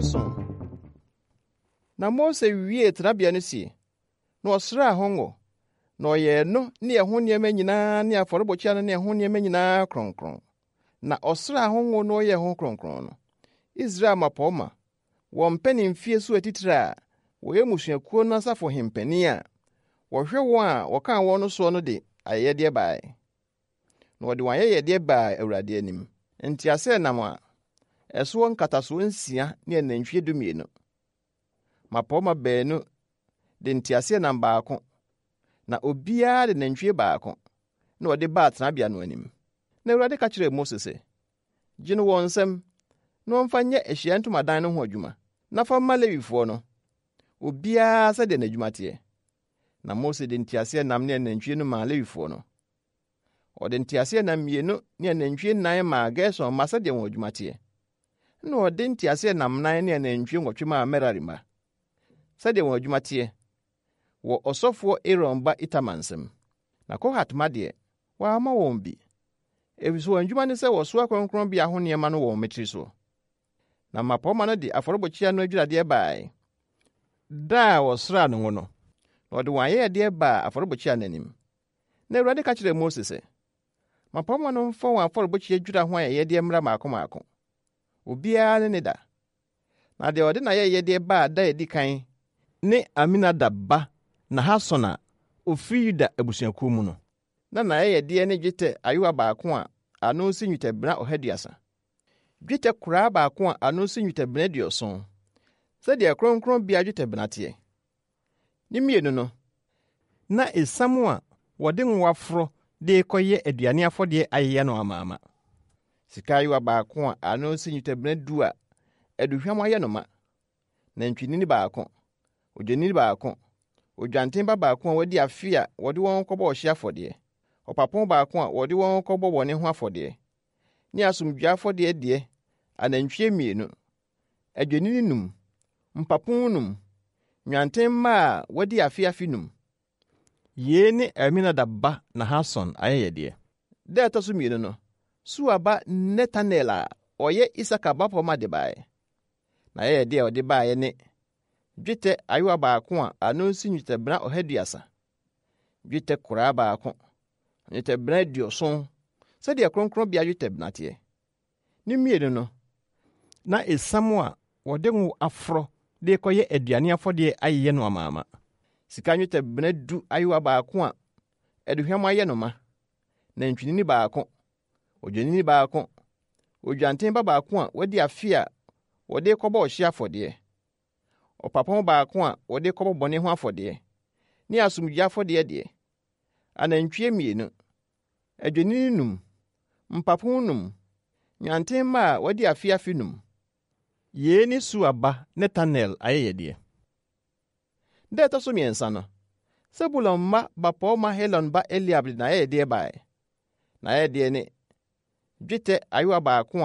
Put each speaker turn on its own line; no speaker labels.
7. Na Mose wiee tenabea no sie, na ɔsraa ho ngo, na ɔyɛɛ no ne ɛho nneɛma nyinaa ne afɔrebukyia no ne ɛho nneɛma nyinaa kronkron. Na ɔsraa ho ngo na ɔyɛɛ ho kronkron no, Israel mmapɔmma, wɔn mpanimfie so atitire a wɔyɛ mmusuakuo no asafohempanin a wɔhwɛ wɔn a wɔkaa wɔn no soɔ no de ayɛyɛdeɛ baeɛ. Na wɔde wɔn ayɛyɛdeɛ baa Awurade anim, nteaseɛnam a ɛsoɔ nkatasoɔ nsia ne anantwie 12. Mmapɔmma baanu de nteaseɛnam baako, na obiara de nantwie baako na wɔde baa tenabea no anim. Na Awurade ka kyerɛɛ Mose sɛ, Gye no wɔn nsam, na wɔmfa nyɛ ahyiaeɛ ntomadan no ho adwuma, na fa ma Lewifoɔ no, obiara sɛdeɛ n'adwuma teɛ. Na Mose de nteaseɛnam ne anantwie no maa Lewifoɔ no. Ɔde nteaseɛnam mmienu ne anantwie nnan maa Gerson mma sɛdeɛ wɔn adwuma teɛ. Ɛnna ɔde nteaseɛnam nnan ne anantwie 8 maa Merari mma, sɛdeɛ wɔn adwuma teɛ, wɔ ɔsɔfoɔ Aaron ba Itamar nsam. Na Kohat mma deɛ, wamma wɔn bi, ɛfiri sɛ wɔn adwuma ne sɛ wɔsoa kronkronbea ho nneɛma no wɔ wɔn mmatiri soɔ. Na mmapɔmma no de afɔrebukyia no adwiradeɛ baeɛ, da a wɔsraa no ngo no, na wɔde wɔn ayɛyɛdeɛ baa afɔrebukyia no anim. Na Awurade ka kyerɛɛ Mose sɛ, Mmapɔmma no mfa wɔn afɔrebukyia dwira ho ayɛyɛdeɛ mmra mmaako mmaako, obiara ne ne da. Na deɛ ɔde n'ayɛyɛdeɛ baa da a ɛdi kan ne Aminadab ba Nahason a ɔfiri Yuda abusuakuo mu no. Na n'ayɛyɛdeɛ ne dwetɛ ayowa baako a ano si nnwetɛbena 130, dwetɛ koraa baako a ano si nnwetɛbena 70, sɛdeɛ kronkronbea dwetɛbena teɛ. Ne mmienu no, na esiam a wɔde ngo aforo de rekɔyɛ aduane afɔdeɛ ayeyɛ no amaama. Sika ayowa baako a ano si nnwetɛbena 10 a aduhwam ayɛ no ma, nantwinini baako, odwennini baako, odwanten ba baako a wadi afe a wɔde wɔn kɔbɔ ɔhye afɔdeɛ, ɔpapo baako a wɔde wɔn kɔbɔ bɔne ho afɔdeɛ, ne asomdwoe afɔdeɛ deɛ anantwie 2, adwennini 5, mpapo 5, nnwanten mma a wɔadi afe afe 5. Yei ne Aminadab ba Nahason ayɛyɛdeɛ. Da a ɛtɔ so 2 no, Suar ba Netanel a ɔyɛ Isakar bapɔmma de baeɛ. N'ayɛyɛdeɛ a ɔde baeɛ ne dwetɛ ayowa baako a ano si nnwetɛbena 130, dwetɛ koraa baako, nnwetɛbena 70, sɛdeɛ kronkronbea dwetɛbena teɛ. Ne mmienu no, na esiam a wɔde ngo aforɔ de rekɔyɛ aduane afɔdeɛ ayeyɛ no amaama. Sika nnwetɛbena 10 ayowa baako a aduhwam ayɛ no ma, nantwinini baako, odwennini baako, odwanten ba baako a wadi afe a wɔde rekɔbɔ ɔhye afɔdeɛ, ɔpapo baako a wɔde rekɔbɔ bɔne ho afɔdeɛ, ne asomdwoe afɔdeɛ deɛ, anantwie 2, adwennini 5, mpapo 5, nnwanten mma a wɔadi afe afe 5. Yei ne Suar ba Netanel ayɛyɛdeɛ. Da a ɛtɔ so 3 no, Sebulon mma bapɔmma Helon ba Eliab de n'ayɛyɛdeɛ baeɛ. N'ayɛyɛdeɛ ne dwetɛ ayowa baako a